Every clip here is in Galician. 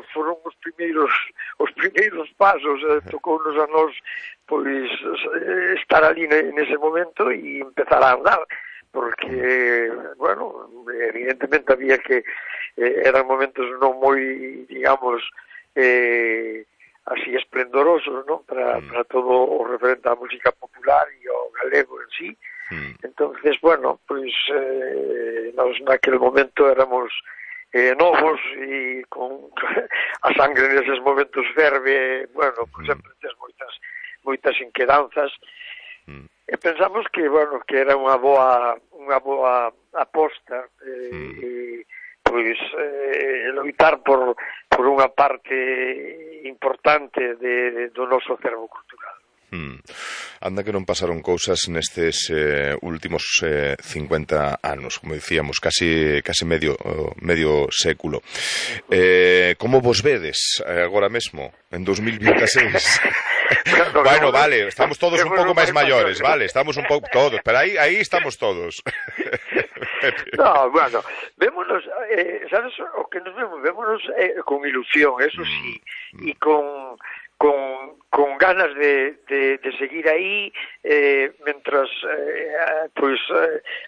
bueno, foron os primeiros pasos, tocounos a nós pois estar ali nese momento e empezar a andar, porque, bueno, evidentemente había que eran momentos non moi, digamos, así esplendorosos, non? Para todo o referente á música popular e ao galego en sí. Entonces, bueno, pois nós naquele momento éramos novos e con a sangre neses momentos ferve, bueno, pois sempre tes moitas inquedanzas e pensamos que, bueno, que era unha boa aposta pois loitar por unha parte importante do noso acervo cultural. Anda que non pasaron cousas nestes últimos 50 anos, como dicíamos, casi medio século. Como vos vedes agora mesmo, en 2026? Bueno, vale, estamos todos un pouco máis maiores, vale, estamos un pouco todos, pero aí estamos todos. No, bueno, vémonos, sabes, o que nos vémonos con ilusión, eso sí, e con ganas de seguir aí mentras pois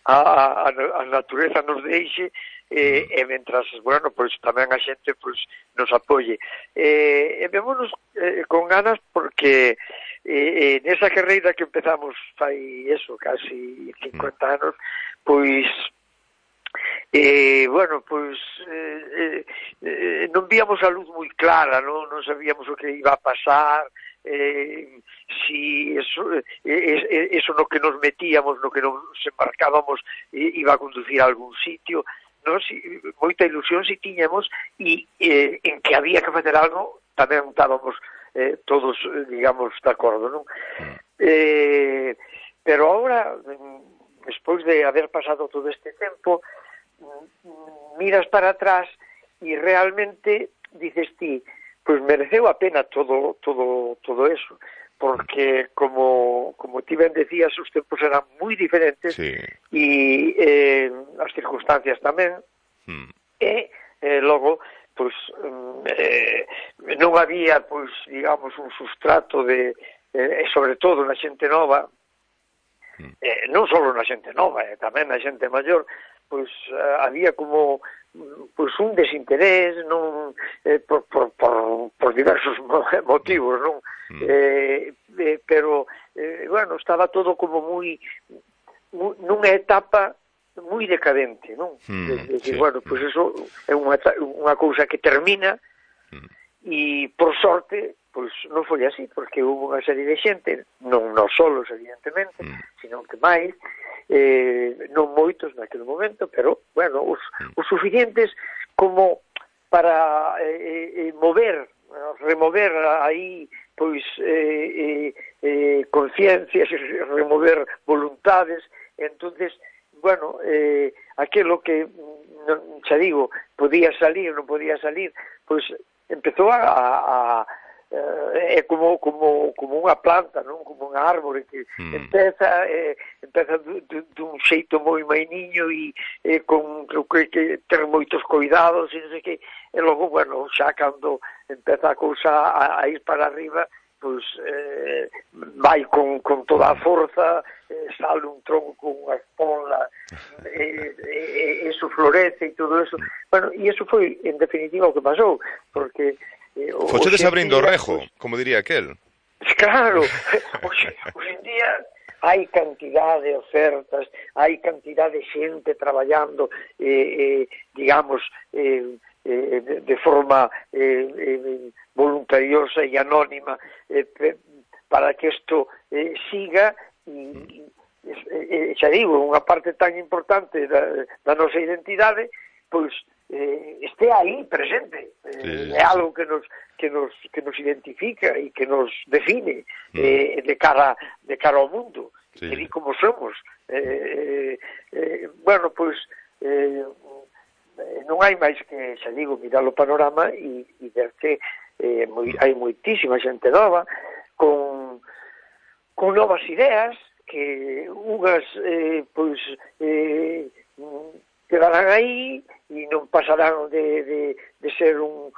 a natureza nos deixe e mentras, bueno, pois tamén a xente pois nos apoie. E vémonos con ganas porque nesa carreira que empezamos fai eso, casi 50 anos, pois bueno, pois non víamos a luz moi clara, non sabíamos o que iba a pasar, si eso no que nos metíamos, no que nos embarcábamos iba a conducir a algún sitio, non? Moita ilusión si tiñamos e en que había que facer algo tamén estábamos todos, digamos, de acordo, non? Pero agora, despois de haber pasado todo este tempo, miras para atrás e realmente dices ti, pois mereceu a pena todo eso, porque como ti ben decías, os tempos eran moi diferentes e as circunstancias tamén, e logo pois non había, pois, digamos, un sustrato de sobre todo na xente nova, non só na xente nova, tamén na xente maior, pois había como pois un desinterés, non por diversos motivos, non? Pero bueno, estaba todo como moi nunha etapa moi decadente, non? Bueno, pois eso é unha cousa que termina e por sorte pois non foi así, porque houve unha serie de xente, non nós solos evidentemente, sino que máis, non moitos naquele momento, pero, bueno, os suficientes como para remover aí, pois, conciencias, remover voluntades, entonces, bueno, aquilo que, xa digo, podía salir, non podía salir, pois, empezou é como unha planta, non? Como unha árbore que empeza dun xeito moi mainiño e con que ter moitos cuidados e non sei que, e logo, bueno, xa cando empeza a cousa a ir para arriba, pois vai con toda a forza, sale un tronco con unha espola, eso florece e todo eso. Bueno, e eso foi, en definitiva, o que pasou, porque fochedes abrindo o rejo, como diría aquel. Claro, hoxe en día hai cantidad de ofertas, hai cantidad de xente traballando, digamos, de forma voluntariosa e anónima para que isto siga e xa digo, unha parte tan importante da nosa identidade, pois este aí presente, é algo que nos identifica e que nos define de cara ao mundo, que di como somos. Bueno, pois non hai máis que, xa digo, mirar o panorama e ver que hai moitísima xente nova con novas ideas que unhas pois quedarán aí e non pasarán de ser un